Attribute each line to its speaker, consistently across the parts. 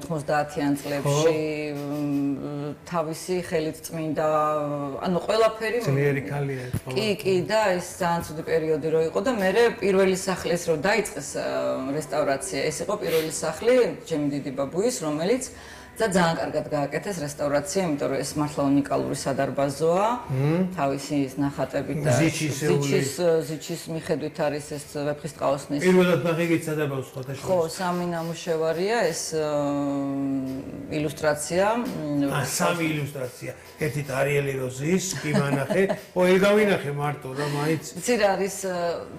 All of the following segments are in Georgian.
Speaker 1: 90-იან წლებში თავისი ხელით წმინდა ანუ ყველაფერი
Speaker 2: ძლიერი ქალია
Speaker 1: კი და ეს ძალიან ცუდი პერიოდი რო იყო და მე პირველი სახლი ეს რო დაიწყეს რესტავრაცია ეს იყო პირველი სახლი ჩემი დიდი ბაბუის რომელიც და ძალიან კარგად გააკეთეს რესტავრაცია, იმიტომ რომ ეს მართლა უნიკალური სადარბაზოა. თავისი ნახატებით და ზიჩის მიხედვით არის ეს ვეფხისტყაოსნის.
Speaker 2: პირველად ნახეთ სადარბაზოს ფოტოში.
Speaker 1: ხო, სამი ნამუშევარია ეს ილუსტრაცია.
Speaker 2: სამი ილუსტრაცია. ერთით არიელი როზის კი მანახე. ეს გავინახე მარტო და მაინც.
Speaker 1: იცი რა არის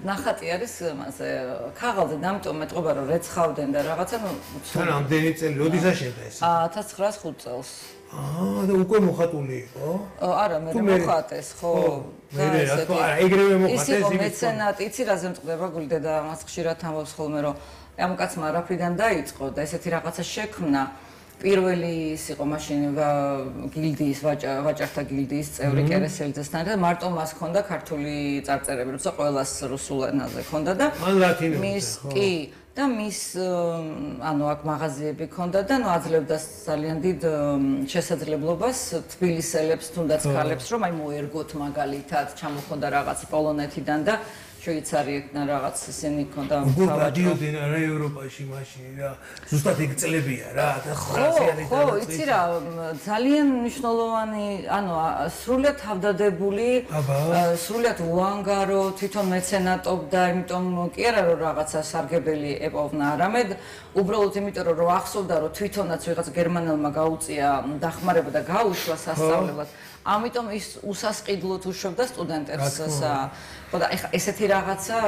Speaker 1: ნახატი არის მასე ქაღალზე და ამიტომ მეტყობა რომ რეცხავდნენ და რაღაცა ნუ
Speaker 2: თან ამდენი წელი როდესაც შედა ეს?
Speaker 1: 1905 წელს.
Speaker 2: და უკვე მოხატული იყო?
Speaker 1: არა, მე მოხატეს, ხო.
Speaker 2: მე რა თქმა არა, ეგრევე მოხატეს
Speaker 1: ის იყო მეცენატი, იცი რაზე მწყდება გულდე და მას ხშირად ამბობს ხოლმე რომ ამ კაცმა რაფრიდან დაიწყო და ესეთი რაღაცა შექმნა. პირველი ის იყო მაშინ გილდიის ვაჭართა გილდიის წევრი კერესელიძესთან და მარტო მას ჰქონდა ქართული წარწერები, როცა ყველას რუსულ ენაზე ჰქონდა და მის კი და მის ანუ აქ მაღაზიები ჰქონდა და ნუ აძლევდა ძალიან დიდ შესაძლებლობას თბილისელებს თუნდაც ქალებს რომ აი მოერგოთ მაგალითად ჩამოხონდა რაღაც პოლონეთიდან და შვეიცარიიდან რაღაც ისინი ჰქონდა
Speaker 2: დავადიოდნენ რა ევროპაში მაშინ რა ზუსტად ეგ წლებია რა 1900-იანი
Speaker 1: ხო იცი რა ძალიან მნიშვნელოვანი ანუ სრულიად თავდადებული სრულიად უანგარო თვითონ მეცენატობდა იმიტომ კი არა რომ რაღაცა სარგებელი ეპოვნა არამედ უბრალოდ იმიტომ რომ ახსოვდა რომ თვითონაც ვიღაც გერმანელმა გაუწია დახმარება და გაუშვა სასწავლებლად ამიტომ ის უსასყიდლოდ უშვებდა სტუდენტებს ხო და ეხა ესეთი რაღაცა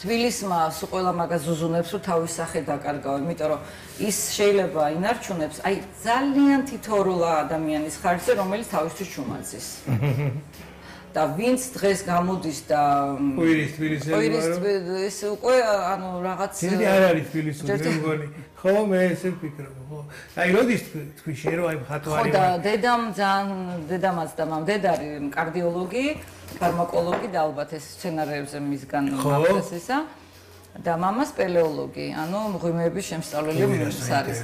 Speaker 1: თბილისმა სულ ყველა მაგას ზუზუნებს რომ თავის სახე დაკარგავ იმიტომ რომ ის შეიძლება ინარჩუნებს აი ძალიან თითოეულა ადამიანის ხარჯზე რომელიც თავისთვის ჩუმაძის და ვინც დღეს გამოდის და
Speaker 2: ყვირის თბილისელი
Speaker 1: ეს უკვე ანუ რაღაც
Speaker 2: ძირითადად არ არის თბილისური მე მგონი ხო მე ესე ვფიქრობ ხო აი როდის თქვი შე რომ აი მხატვარი
Speaker 1: ხო და დედამაც და მამდედარი კარდიოლოგი ფარმაკოლოგი და ალბათ ეს სცენარებზე მისგან მახდეს ისა და მამა სპელეოლოგი ანუ მღვიმეების შემსწავლელი არის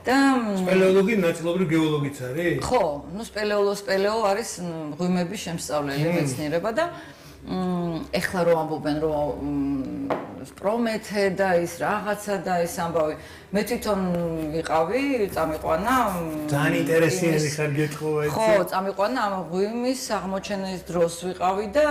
Speaker 1: და
Speaker 2: სპელეოლოგი ნაწილობრივ გეოლოგიც არის
Speaker 1: ხო ნუ სპელეო არის მღვიმეების შემსწავლელი მეცნიერება და ეხლა რომ ამბობენ რომ პრომეთე და ის რაღაცა და ეს ამბავი მე თვითონ ვიყავი წამიყვანა
Speaker 2: ძალიან ინტერესიანი ხარ გეტყობა ეს
Speaker 1: ხო წამიყვანა ამ ღვიმის აღმოჩენის დროს ვიყავი და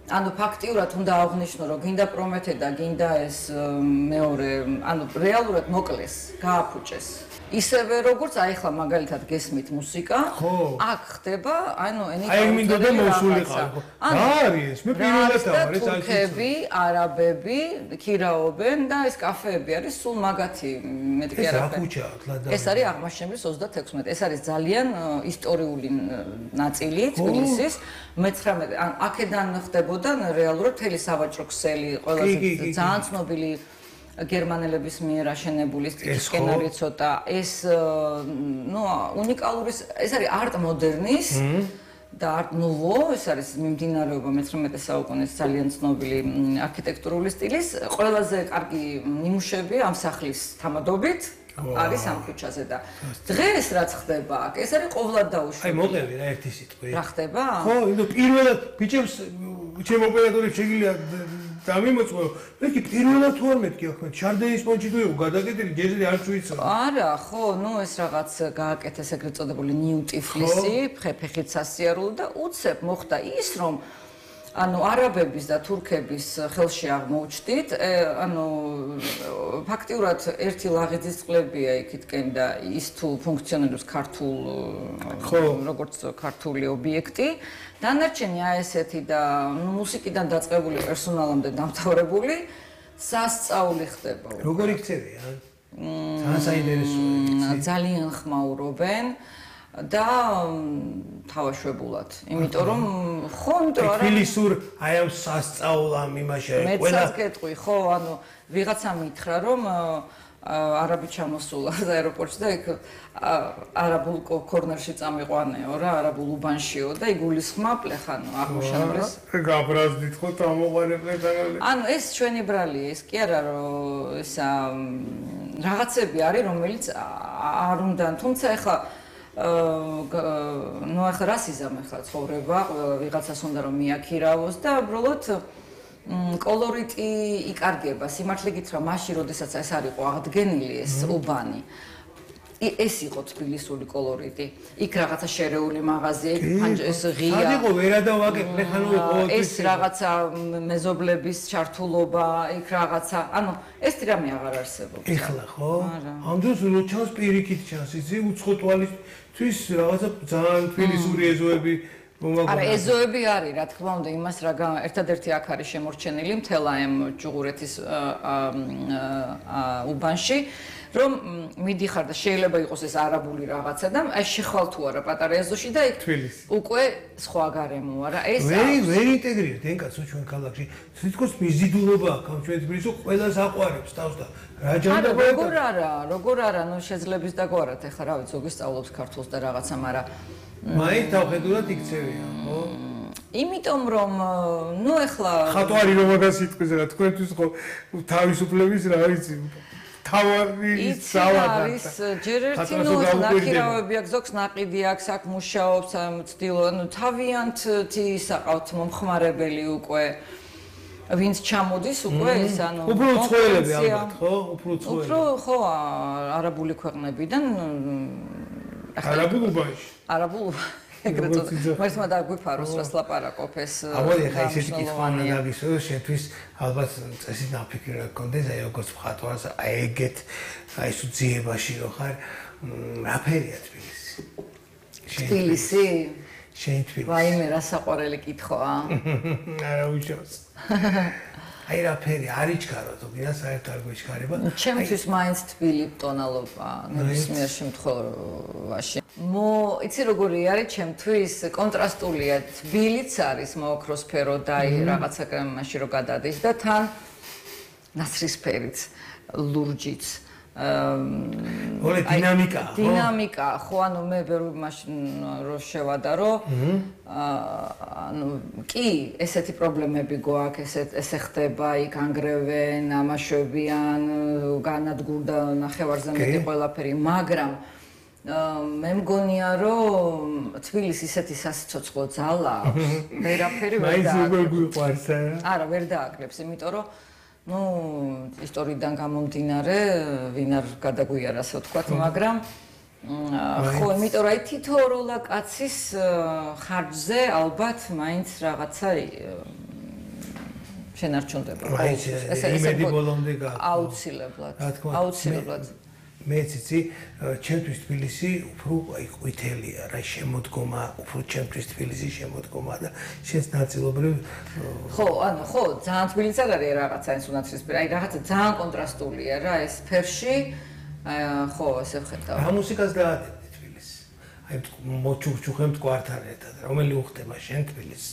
Speaker 1: ანუ ფაქტიურად უნდა აღვნიშნო რომ გინდა პრომეთე და გინდა ეს მეორე ანუ რეალურად მოკლეს გააფუჭეს ისევე როგორც აი ახლა მაგალითად გესმით მუსიკა აქ ხდება ანუ
Speaker 2: აი მინდოდა მოსულიყავ არის მე პირველად ვარ ეს
Speaker 1: თურქები არაბები ქირაობენ და ეს კაფეები არის სულ მაგათი მეტი კი არა ეს არის აღმაშენებლის 36 ეს არის ძალიან ისტორიული ნაწილი თბილისის მე-19 ან აქედან ხდებოდა რეალურად მთელი სავაჭრო ქსელი ყველაზე ძალიან ცნობილი გერმანელების მიერ აშენებული სკენარი ცოტა ეს ნუ უნიკალური ეს არის არტ მოდერნის და არტ ნუვო ეს არის მიმდინარეობა მე-19 საუკუნის ძალიან ცნობილი არქიტექტურული სტილის ყველაზე კარგი ნიმუშები ამ სახლის თამადობით არის ამ ქუჩაზე და დღეს რაც ხდება აქ ეს არის ყოვლად დაუშვებელი
Speaker 2: აი მოყევი რა ერთი სიტყვი
Speaker 1: რა ხდება
Speaker 2: ხო იმიტომ პირველად ბიჭებს ჩემ ოპერატორებს შეგიძლია დამიმოწმო მე კი პირველად თუ არ მეთქი ახლა ჩარდენის პონჩი თუ იყო გადაგეტილი ჯერზე არ წვიცო
Speaker 1: არა ხო ნუ ეს რაღაც გააკეთეს ეგრეთ წოდებული ნიუ ტიფლისი ფეხით სასიარულო და უცებ მოხდა ის რომ ანუ არაბების და თურქების ხელში აღმოუჩდით ანუ ფაქტიურად ერთი ლაღიძის წყლებია იქითკენ და ის თუ ფუნქციონირებს ქართულ როგორც ქართული ობიექტი დანარჩენი აი ესეთი და მუსიკიდან დაწყებული პერსონალამდე დამთავრებული სასწაული ხდება
Speaker 2: როგორი ქცევია ძალიან საინტერესოა
Speaker 1: ძალიან ხმაურობენ და თავაშვებულად იმიტომ რომ ხო იმიტომ რომ
Speaker 2: თბილისურ აი ამ სასწაულამ იმაში
Speaker 1: ყველა მეც გეტყვი ხო ანუ ვიღაცა მითხრა რომ არაბი ჩამოსულა აეროპორტში და იქ არაბულ კორნერში წამიყვანეო რა, არაბულ უბანშიო და იგულისხმა პლეხანო აღმოჩენილს.
Speaker 2: გაბრაზდით ხო თამოყარე პლეხანო.
Speaker 1: ანუ ეს ჩვენი ბრალია, ეს კი არა რომ ისა რაღაცები არის, რომელიც არ უნდა, თუმცა ეხლა ნუ ახლა რას იზამე ხა ცხოვრება, ყველა ვიღაცას უნდა რომ მიაქირავოს და უბრალოდ კოლორიტი იკარგება. სიმართლე გითხრა, მაშინ როდესაც ეს არ იყო აღდგენილი ეს უბანი, ეს იყო თბილისური კოლორიტი. იქ რაღაცა შერეული მაღაზია, ეს ღია.
Speaker 2: სად იყო ვერადავაკე პლეხანოვი ყოველთვის.
Speaker 1: ეს რაღაცა მეზობლების ჩართულობა, იქ რაღაცა, ანუ ეს რამე აღარ არსებობს.
Speaker 2: ეხლა ხო? ამ დროს რო ჩანს პირიქით ჩანს, იცი, უცხო თვალისთვის რაღაცა ძალიან თბილისური ეზოები
Speaker 1: არა, ეზოები არის, რა თქმა უნდა, იმას რა ერთადერთი აქ არის შემორჩენილი მთელ ამ ჯუღურეთის უბანში, რომ მიდიხარ და შეიძლება იყოს ეს არაბული რაღაცა და აი შეხვალ თუ არა პატარა ეზოში და იქ უკვე სხვა გარემოა რა. ეს
Speaker 2: ვერ ინტეგრირებთ ენკაცო ჩვენ ქალაქში. თითქოს მიზიდულობა აქვს ამ ჩვენ თბილისში, ყველას აყვარებს თავს და რა ჯანმრთელობა.
Speaker 1: როგორ არა, ნუ შეძლებს დაგვარად ეხლა რა ვიცი, ზოგი სწავლობს ქართულს და რაღაცა, მაგრამ
Speaker 2: მაინც თავხედურად იქცევია, ხო?
Speaker 1: იმიტომ რომ ნუ ეხლა
Speaker 2: ხატვარი რომ მაგას იტყვის რა, თქვენთვის ხო თავისუფლების რა ვიცი, თავარი სავადა.
Speaker 1: ის ჯერ ერთი ნუ ნახირავები აქვს, ზოგს ნაყიდი აქვს, აქ მუშაობს, ცდილო, ნუ თავიანთი საყავთ მომხმარებელი უკვე ვინც ჩამოდის უკვე ეს ანუ
Speaker 2: უფრო უცხოელები ალბათ, ხო?
Speaker 1: უფრო ხო არაბული ქვეყნებიდან
Speaker 2: არაბულ უბანში.
Speaker 1: არაბულ ეგრეთ წოდებული. მართლა დაგვიფაროს რას ლაპარაკობ ეს.
Speaker 2: აბოლი ხა ისეთი კითხვა უნდა დაგისვრო, შენთვის ალბათ წესი დაფიქრება გქონდეს, აი როგორც მხატვარს, აი ეგეთ აი ეს ძიებაში რო ხარ, რაფერია თბილისი?
Speaker 1: თბილისი?
Speaker 2: შენ თბილისი.
Speaker 1: ვაიმე, რა საყვარელი კითხვაა.
Speaker 2: არა უშავს. აი რაფერი არ იჩქარო თუ გინდა საერთოდ არ გვიჩქარება.
Speaker 1: ჩემთვის მაინც თბილი ტონალობა ნებისმიერ შემთხვევაში. იცი როგორი არის ჩემთვის კონტრასტულია, თბილიც არის მოოქროსფერო და აი რაღაცა მაშინ რო გადადის და თან ნაცრისფერიც, ლურჯიც.
Speaker 2: ოღონდ დინამიკა, ხო?
Speaker 1: დინამიკა, ხო, ანუ მე ვერ მაშინ რო შევადარო, ანუ კი, ესეთი პრობლემები გვაქვს, ესე ხდება, იქ ანგრევენ, ამაშვებიან, განადგურდა ნახევარზე მეტი ყველაფერი, მაგრამ მე მგონია რომ თბილისს ისეთი სასიცოცხლო ძალა აქვს, ვერაფერი ვერ
Speaker 2: დააკლებს.
Speaker 1: არა, ვერ დააკლებს, იმიტომ რომ ნუ ისტორიიდან გამომდინარე, ვინ არ გადაგვიარა, ასე ვთქვათ, მაგრამ ხო, იმიტომ რომ აი თითოეულა კაცის ხარჯზე ალბათ მაინც რაღაცა შენარჩუნდება.
Speaker 2: ეს იმედი ბოლომდე გაქვს.
Speaker 1: აუცილებლად.
Speaker 2: მეც იცი, ჩემთვის თბილისი უფრო აი ყვითელია, რა შემოდგომა, უფრო ჩემთვის თბილისი შემოდგომა და შენს ნაწილობრივ
Speaker 1: ხო, ანუ ხო, ძალიან თბილისი არ არის რაღაცა ეს უნაცრისფერი, აი რაღაცა ძალიან კონტრასტულია რა ეს ფერში, ხო, ესე ვხედავ.
Speaker 2: რა მუსიკას დაადებდი თბილისს? აი მოჩუქჩუხე მტკვართან ერთად, რომელი უხდება შენ თბილისს?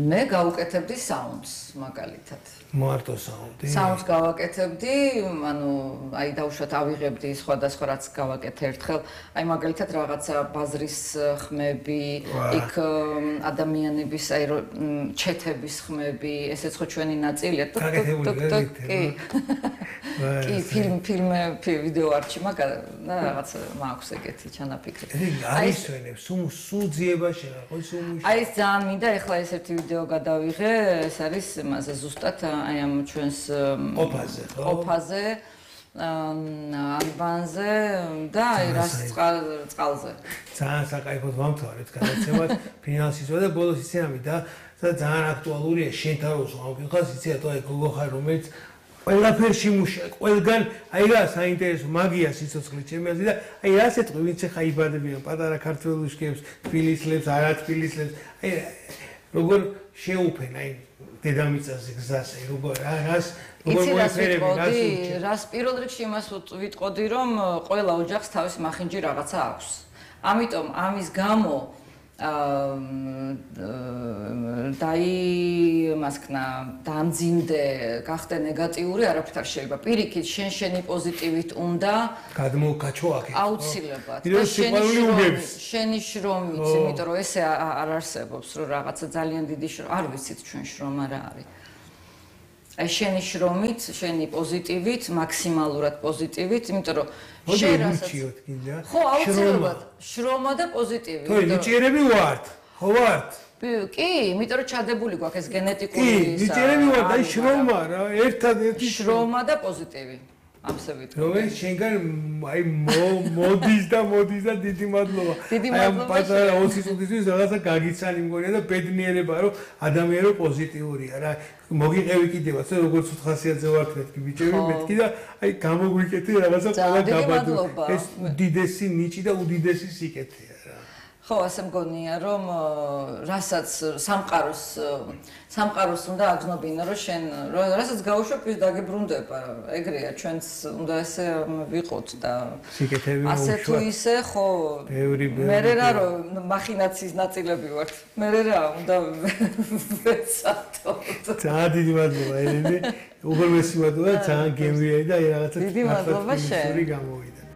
Speaker 2: მე გავუკეთებდი საუნდს მაგალითად. მარტო საუნდი?
Speaker 1: საუნდს გავაკეთებდი, ანუ აი დავუშვათ ავიღებდი სხვადასხვა რაც გავაკეთე ერთხელ, აი მაგალითად რაღაცა ბაზრის ხმები, იქ ადამიანების აი ჩეთების ხმები, ესეც ხო ჩვენი ნაწილია. კი, ფილმი, ვიდეო არქივი რაღაც მაქვს ეგეთი ჩანაფიქრი.
Speaker 2: არის ვენებს, სულ ძიებაში რა, ხო სულ
Speaker 1: აი ეს ძალიან მინდა, ეხლა ეს ერთი ვიდეო გადავიღე, ეს არის მასე ზუსტად აი ამ ჩვენს ყოფაზე, ალბანზე და აი რას წყალზე.
Speaker 2: ძალიან საკაიფოდ ვამთავრეთ გადაცემას ფინანსისვა და ბოლოს იცი და ძალიან აქტუალურია შენ თავს ამკითხავს, იცი თუ აი გოგო ხარ რომელიც ყველაფერში მუშაობს, ყველგან აი რა საინტერესო მაგია სიცოცხლე ჩემი აზრით და აი რა სიტყვი ვინც ხა იბადებიან პატარა ქართველუშკებს, თბილისლებს, არა თბილისლებს, აი როგორ შეუფენ აი დედამიწაზე გზას, აი როგორ მოიფერები,
Speaker 1: რას პირველ რიგში იმას ვიტყოდი, რომ ყველა ოჯახს თავის მახინჯი რაღაცა აქვს. ამიტომ ამის გამო მასკნა დამძიმდე გახდე ნეგატიური არაფრით არ შეიძლება პირიქით შენი პოზიტივით უნდა
Speaker 2: გადმოგაჩო აქ
Speaker 1: აუცილებლად შენი შრომით იმიტომ რომ ესე არ არსებობს რომ რაღაცა ძალიან დიდი არ ვიცით ჩვენ შრომა რა არის აი შენი შრომით შენი პოზიტივით მაქსიმალურად პოზიტივით იმიტომ რომ შენ
Speaker 2: რასაც
Speaker 1: ხო აუცილებლად შრომა და პოზიტივი
Speaker 2: თუ ნიჭიერები ვართ ხო ვართ
Speaker 1: კი, იმიტომ რომ ჩადებული გვაქვს ეს გენეტიკური
Speaker 2: კი, ნიჭიერები ვართ, აი შრომა რა, ერთადერთი
Speaker 1: შრომა და პოზიტივი. ამსე ვიტყვი.
Speaker 2: რომელიც შენგან აი მოდის და დიდი მადლობა.
Speaker 1: დიდი მადლობა.
Speaker 2: აი პატარა 20 წუთისთვის რაღაცა გაგიცანი მგონია და ბედნიერება რომ ადამიანო პოზიტიურია რა. მოგიყევი კიდევაც როგორც უთხასიათზე ვართ მეთქი ბიჭები მეთქი და აი გამოგვიკეთე რაღაცა ყველა გაბადო. ეს უდიდესი ნიჭი და უდიდესი სიკეთეა.
Speaker 1: ხო, ასე მგონია, რომ რასაც სამყაროს უნდა აგზნობინა, რომ შენ რასაც გაუშვებ, ის დაგებრუნდება. ეგრეა, ჩვენც უნდა ესე ვიყოთ და
Speaker 2: სიკეთები
Speaker 1: ასე თუ ისე, ხო, მერე რა რომ მახინაციის ნაწილები ვართ. მერე რა უნდა ვეცადოთ.
Speaker 2: ძალიან დიდი მადლობა, ელენე. უღრმესი მადლობა, ძალიან გემრიელი და რაღაცა
Speaker 1: დიდი მადლობა შენ.
Speaker 2: გამოვიდა.